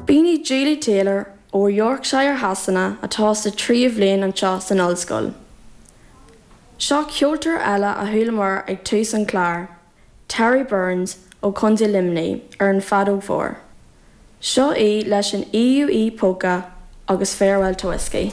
B'in í Julie Taylor ó Yorkshire Shasana atá sa tríú bhliain anseo san ollscoil. Seo ceoltóir eile a chualamar ag tús an chláir, Terry Burns ó Chontae Luimnigh ar an bhfeadóg mhór. Seo í leis an EUE Polka agus Farewell to Whiskey.